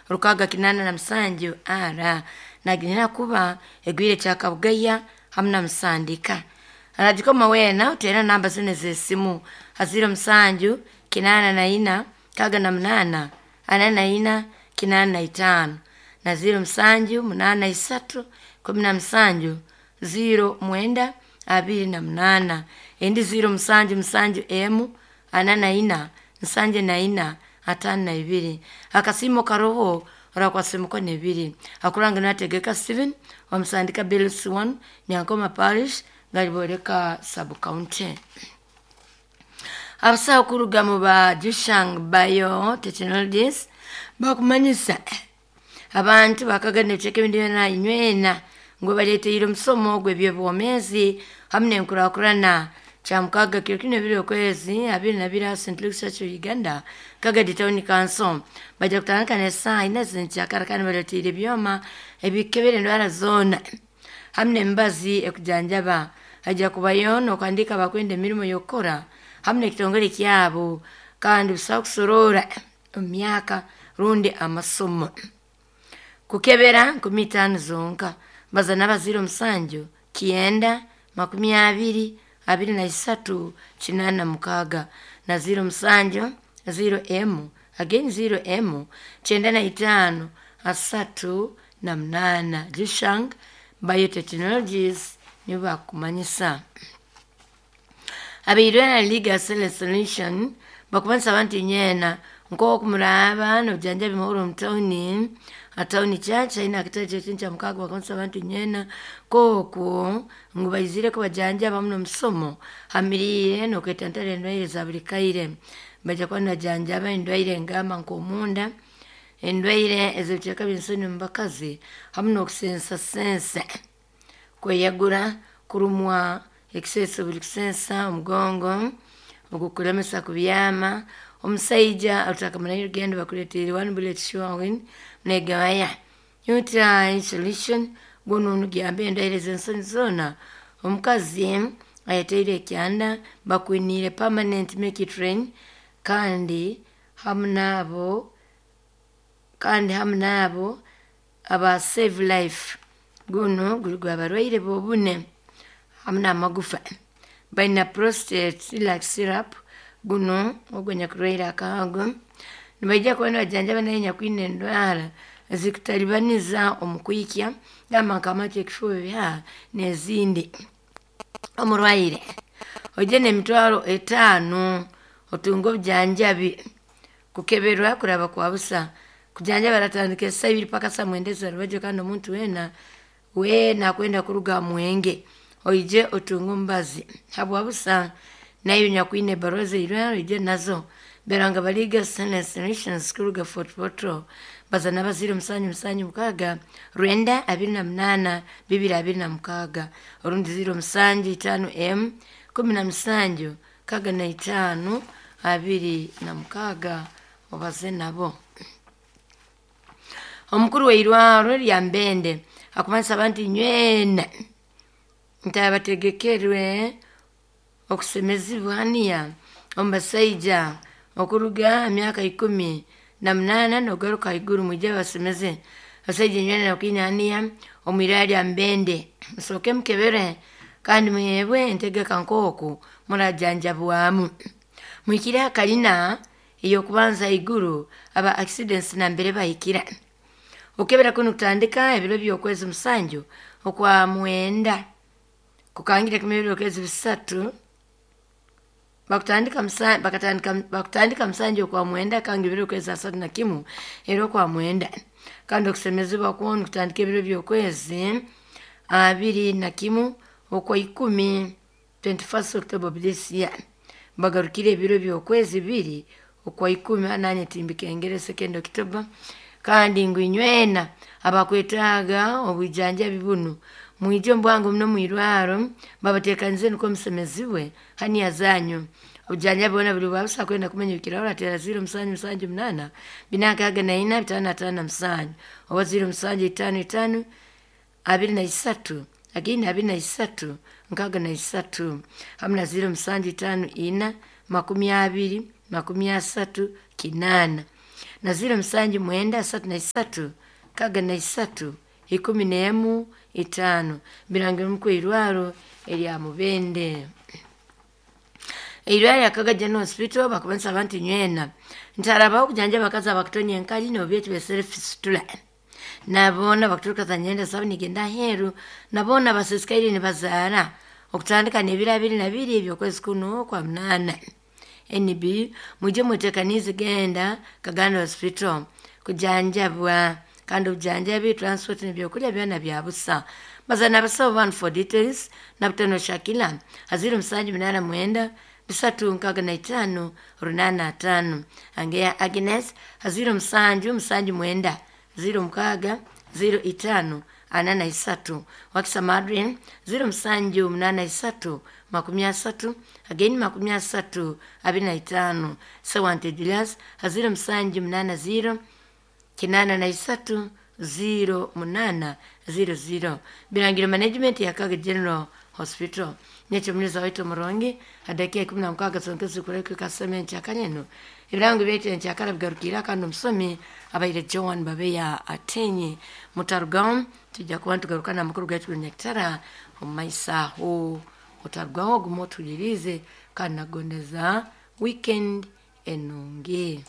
687 R naginira kuba egwire kyakabugaya hamu na musandika aragikoma weena oteera namba zinu ez'esimu ha 07 84 68 44 85 na 07 83 17 09 28 endi 07 7 emu 44 74 52 akasiimo karoho orakwasa emikono ebiri akuranga nategeka Steven omusandika Bills 1 Nyankoma Parish Galiboleka Sub County. Abasawo kuruga mu ba Jushang Biotechnologies bakumanyisa abantu bakagana ebicweka ebindi byona inywena ngu baleeteire omusomo gw'ebyobwomeezi hamu n'enkurakurana kyamukaga kiro kinu ebiri okwezi 22 ha St. Luke's Church of Uganda Kagadi Town Council bajja kutandika n'esaaha ina z'enkyakara kandi baleeteire ebyoma ebikebera endwara zoona hamu n'emibazi ekujanjaba. Hajja kubayo n'okuhandiika abakwenda emirimo y'okukora hamu n'ekitongole kyabo kandi busaho kusoroora omu myaka rundi amasomo. Kukebera 50 zonka baza n'abazaire 7 9 20 23 86 na 07 0M again 0M 95 38 Jushang Biotechnologies nibo bakumanyisa. Abairwana Legal Solution bakumanyisa abantu inywena nk'oku muraaba n'obujanjabi muhuro omu tawuni atawuni church aine akatebe ky'ekintu kya mukaaga bakumanyisa abantu inywena nk'oku ngu baizire kubajanjaba hamu n'omusomo hamiriire n'okwetantara endwaire za buli kaire. Baija kuba nibajanjaba endwaire engamba nk'omunda, endwaire ez'ebicweka by'ensoni omu bakazi hamu n'okusensasensa, kweyagura, kurumwa ekiseesa buli kusensa, omugongo ogukulemesa kubyama, omusaija orutakamarayo orugendo bakuleetiire one bullet sure negaya. UTI solution gunu niguyamba endwaire ez'ensoni zoona. Omukazi ayetaire ekyanda bakwiniire permanent make it rain kandi hamu n'abo aba save life gunu guli gw'abarwaire b'obune hamu n'amagufa. Baina prostate relax syrup gunu ogwo anyakurwaire akahago nibaija kuba nibajanjaba naye anyakwine endwara ezikutalibaniza omu kwikya gamba nk'amatu, ekifuba, ebihaha n'ezindi. Omurwaire oije n'emitwaro 5 otunge obujanjabi kukeberwa kuraba kwa busa. Kujanjaba baratandika esaaha ibiri paka saa mwenda ez'orubajyo kandi omuntu weena weena akwenda kuruga ha mwenge oije otunge omubazi habwa busa. Naiwe anyakwine ebaruha z'eirwarro oije nazo. Beranga Baliga Solutions kuruga Fort Portal baza n'abazaire 7 7 6 9 28 226 orundi 07 5 M 17 65 26 obaze nabo. Omukuru w'eirwarro lya Mbende akumanyisa abantu inywena nti abategekerwe okusemezibwa haniya omu basaija okuruga ha myaka 18 n'okugaruka haiguru mwije babasemeze. Abasaija inywena abakwine haniya omu irwarro lya Mbende musooke mukebere kandi muheebwe entegeka nk'oku murajanjabwamu. Muhikire ha kalina ey'okubanza haiguru aba accidents nambere bahikira. Okukebera kunu kutandika ebiro by'okwezi 7 okwa mwenda kukangira kimu ebiro by'okwezi 3 bakutandika 7 okwa mwenda kangira ebiro by'okwezi 31 era okwa mwenda. Kandi okusemezibwa kwonu kutandika ebiro by'okwezi 21 okwa 10 21st October of this year. Bagarukire ebiro by'okwezi 2 okwa 10 nanye timbikengere 2nd October. Kandi ngu inywena abakwetaaga obwijanjabi bunu mwije omu bwangu muno omu irwarro babateekanize nukwo musemezibwe haniya zanyu. Obujanjabi bwona buli bwa busa kwenda kumanya ebikiraho orateera 07 7 8 464 557 oba 07 5 5 23 again 23 63 hamu na 07 5 4 20 30 8. na 079 33 63 15 birangirwe irwaro erya Mubende. Eirwaro lya Kaga General Hospital bakubanisa abantu nywena ntarabaho kujanja abakazi abakutonya enkali nobyeti beserefisitula nabona bakuturuka za nyenda sabo nigenda aheru, nabona basisikaire nibazaara okutandika n'ebiro 22 ebyokwezi kuno kwa 8. NB muje mwetekanize genda Kaganda Hospital kujanjabwa, kandi obujanjabi, transport n'ebyokulya byona bya busa. Bazana abasawo banu for details Nabutano Shakila 0789 365 85, Angeya Agnes 0779 06 05 43, Wakisa Madrin 0783 30 again 30 25, Sewante Julius 0780 83 08 00. Birangiro management ya Kaga General Hospital. Nekyo muneza waitu omurungi adakiika 16 zonkezi kureka kaseme enkyakara ebirango byaitu enkyakara bigarukire kandi omusomi abaire Joan Babeya Atenyi. Mutarugaho tujja kuba nitugaruka n'amakuru gaitu g'enyakitara omu maiso aho. Otarugaho ogume otuhulirize kandi nagondeza weekend enungi.